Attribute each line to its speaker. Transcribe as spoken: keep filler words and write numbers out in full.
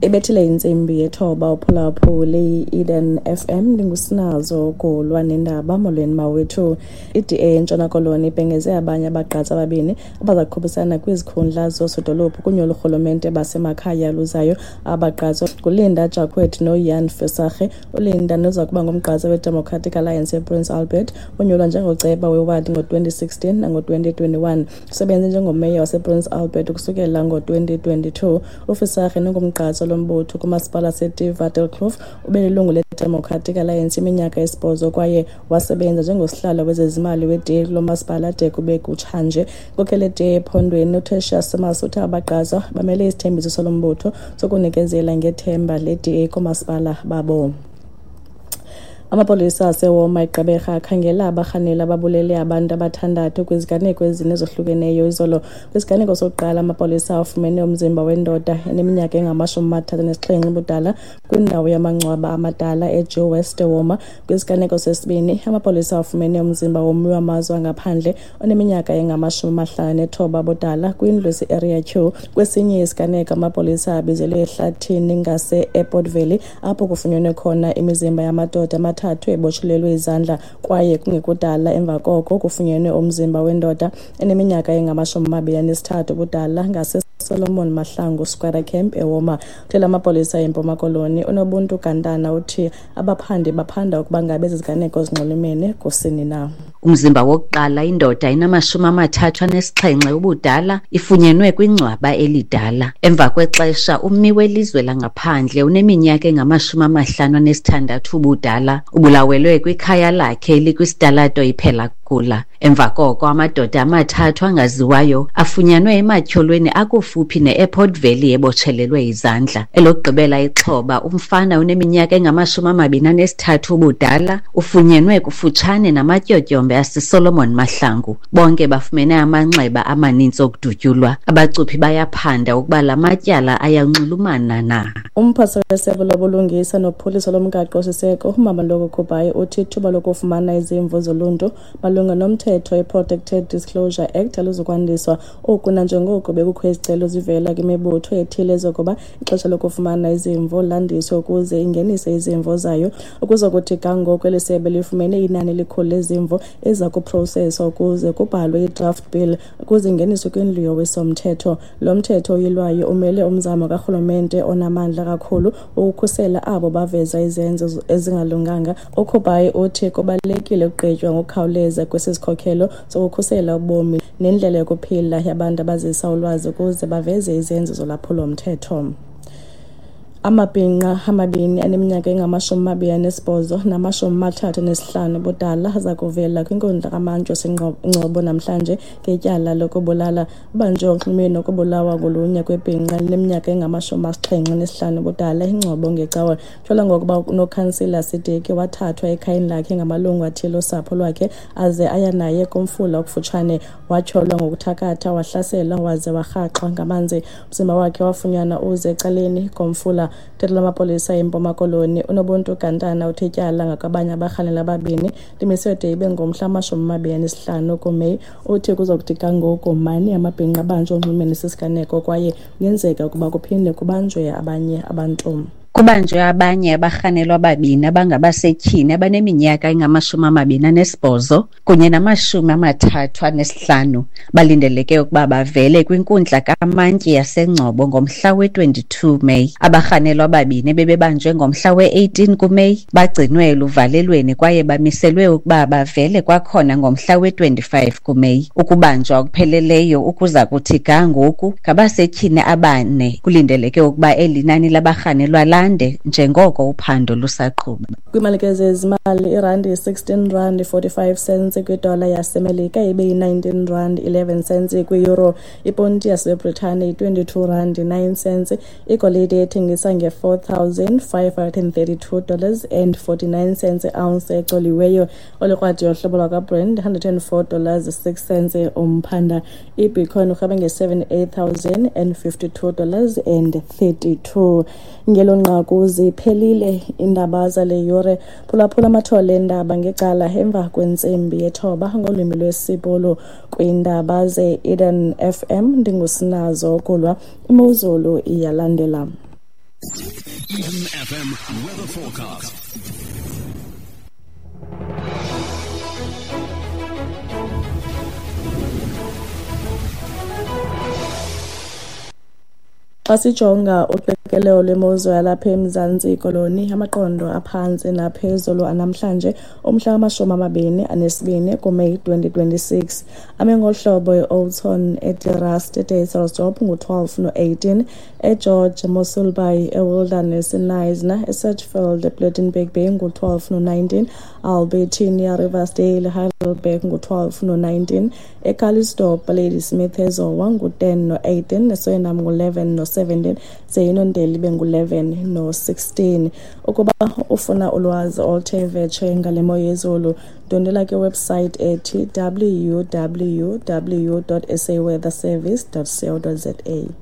Speaker 1: Ibethile intsimbi yethoba, uphulaphuli Eden F M, ndingusinazo Golwa nendaba. Molweni mawethu. I-D A eNtshona Koloni ibhengeze abanye abagqatsi ababini abaza kukhuphisana kwizikhundla zoosodolophu kunyulo lorhulumente basemakhaya luzayo. Abagqatswa nguLinda Jacquet noJan Visagie. ULinda, noza kuba ngumgqatswa weDemocratic Alliance ePrince Albert, wonyulwa njengoceba wewadi ngo-twenty sixteen nango-twenty twenty-one. Usebenze njengomeya wasePrince Albert ukusukela ngo-twenty twenty-two. UVisagie, nongumgqatswa lombutho kumasipala waseTyvandkloof, ube lilungu leDemocratic Alliance iminyaka esibhozo kwaye wasebenza njengosihlalo wezezimali we-D A kulo masipala de kube kutshanje. Inkokheli ye-D A ephondweni uTertuis Simmers uthe abagqatswa bamele isithembiso salo mbutho sokunikezela ngethemba le-D A koomasipala babo. Amapolisa aseWalmer eGqeberha akhangela abarhaneli ababulele abantu abathandathu kwiziganeko ezine ezohlukeneyo izolo. Kwisiganeko sokuqala, amapolisa afumene umzimba wendoda eneminyaka engamashumi amathathu anesixhenxe ubudala kwindawo yamangcwaba amadala eJoe West eWalmer. Kwisiganeko sesibini, amapolisa afumene umzimba wommi wamazwe angaphandle oneminyaka engamashumi amahlanu nethoba ubudala kwindlu ese-Area Q. Kwesinye isiganeko, amapolisa abizelwe ehlathini ngase-Airport Valley apho kufunyenwe khona imizimba yamadoda amathathu ebotshelelwe izandla, kwaye kungekudala emva koko kufunyenwe umzimba wendoda eneminyaka engamashumi amabini anesithathu ubudala ngaseSolomon Mahlangu Squatter Camp eWalmer. Uthela amapolisa eMpuma Koloni uNobuntu Gantana uthi abaphandi baphanda ukuba ngabe ezi ziganeko zinxulumene kusini na.
Speaker 2: Umzimba wokuqala, indoda enamashumi amathathu anesixhenxe ubudala, ifunyenwe kwingcwaba elidala. Emva kwexesha, ummi welizwe langaphandle uneminyaka engamashumi amahlanu anesithandathu ubudala ubulawelwe kwikhaya lakhe elikwisitalato iPhela-Kula. Emva koko, amadoda amathathu angaziwayo afunyanwe ematyholweni akufuphi ne-Airport Valley ebotshelelwe izandla. Elokugqibela ixhoba, umfana oneminyaka engamashumi amabini anesithathu ubudala, ufunyenwe kufutshane namatyotyombe aseSolomon Mahlangu. Bonke bafumene amanxeba amaninzi okudutyulwa. Abacuphi bayaphanda ukuba la matyala ayanxulumana na.
Speaker 1: Umphathiswa wesebe lobulungisa nophuhliso lomgaqo-siseko uMmamoloko Kubayi uthi ithuba lokufumana izimvo zoluntu malunga nomthetho iProtected Disclosure Act aluzukwandiswa. Oku nanjengoko bekukho izicelo zivela kwimibutho ethile zokuba ixesha lokufumana izimvo landiswe ukuze ingenise izimvo zayo. Ukuzokuthi ga ngoku, eli sebe lifumene inani elikhulu lezimvo eziza kuproseswa ukuze kubhalwe i-draft bill ukuze ingeniswe kwindlu yowiso-mthetho. Lo mthetho uyilwayo umele umzamo karhulumente onamandla kakhulu ukukhusela abo baveza izenzo ezingalunganga. UKubayi uthi kubalulekile ukugqitywa ngokukhawuleza kwesi sikhokelo sokukhusela ubomi nendlela yokuphila yabantu abazisa ulwazi ukuze baveze izenzo zolwaphulo-mthetho. Amabhinqa amabini aneminyaka engamashumi amabini anesibhozo namashumi amathathu anesihlanu ubudala aza kuvela kwinkundla kamantyi waseNgcobo namhlanje ngetyala lokubulala. Ubanjwe onxulumeni nokubulawa ngolunya kwebhinqa elineminyaka engamashumi asixhenxe anesihlanu ubudala eNgcobo ngeCawa. Kutyholwa ngokuba uNokhansila Sidiki wathathwa ekhayeni lakhe ngamalungu athile osapho lwakhe aze aya naye kumfula okufutshane. Watyholwa ngokuthakatha, wahlaselwa waze warhaxwa ngamanzi. Umzimba wakhe wafunyanwa uze ecaleni komfula. Umphathi lamapolisa eMpuma Koloni uNobuntu Gantana uthe ityala ngakwabanye abarhanelwa ababini limiswe de ibe ngomhla wamashumi amabini anesihlanu kuMeyi. Uthi kuzokuthi ga ngoku mane amabhinqa abanjwe onxulumene nesi siganeko kwaye kungenzeka ukuba kuphinde kubanjwe abanye abantu.
Speaker 2: Kubanjwe abanye abarhanelwa ababini abangabasetyhini abaneminyaka engamashumi amabini anesibhozo kunye namashumi amathathu anesihlanu. Balindeleke ukuba bavele kwinkundla kamantyi yaseNgcobo ngomhla we-twenty-two Meyi. Abarhanelwa ababini bebebanjwe ngomhla we-eighteen kuMeyi bagcinwe eluvalelweni kwaye bamiselwe ukuba bavele kwakhona ngomhla we-twenty-five kuMeyi. Ukubanjwa okupheleleyo ukuza kuthi ga ngoku ngabasetyhini abane. Kulindeleke ukuba eli nani labarhanelwa lande njengoko uphando lusaqhuba.
Speaker 1: Kwiimalike zezimali, irandi yi-sixteen rand forty-five cents kwidola yaseMelika, ibe yi-nineteen rand eleven cents kwi-euro. Iponti yaseBritane yi-twenty-two rand nine cents. Igolide ethengisa nge-four thousand five hundred and thirty-two dollars and forty-nine cents ounce ecoliweyo. Olukrwada yohlobo lwakwaBrent, hundred and four dollars six cents umphanda. IBitcoin urhweba nge-seventy-eight thousand and fifty-two dollars and thirty-two. Ngelo nqaku ziphelile iindaba zale yure. Phulaphula amathole eendaba ngecala emva kwentsimbi yethoba ngolwimi lwesiBhulu kwiindaba ze-Eden F M. Ndingusinazo Kulwa. Imozulu iyalandela.
Speaker 3: Eden F M weather forecast.
Speaker 1: Xa sijonga uqikelelo lwemozulu yalapha eMzantsi Koloni, amaqondo aphantsi naphezulu anamhlanje umhla wamashumi amabini anesibini kuMeyi twenty twenty-six. Ame ngolu hlobo eOudtshoorn, eDe Rust, eDysselsdorp ngu-twelve no-eighteen, eGeorge, Mossel Bay, eWilderness, eKnysna, eSedgefield, ePlettenberg Bay ngu-twelve no-nineteen, Albertinia, Riversdale, Heidelberg ngu-twelve no-nineteen, eCalitzdorp, Ladysmith, eZowa ngu-ten no-eighteen, eSuriname ngu-eleven no-seventeen, Zeyinondeli bengu-eleven no-sixteen. Ukuba ufuna ulwazi oluthe vetshe ngale mo yezulu, ndwendwela kwiwebsite ethi w w w dot s a weather service dot co dot z a.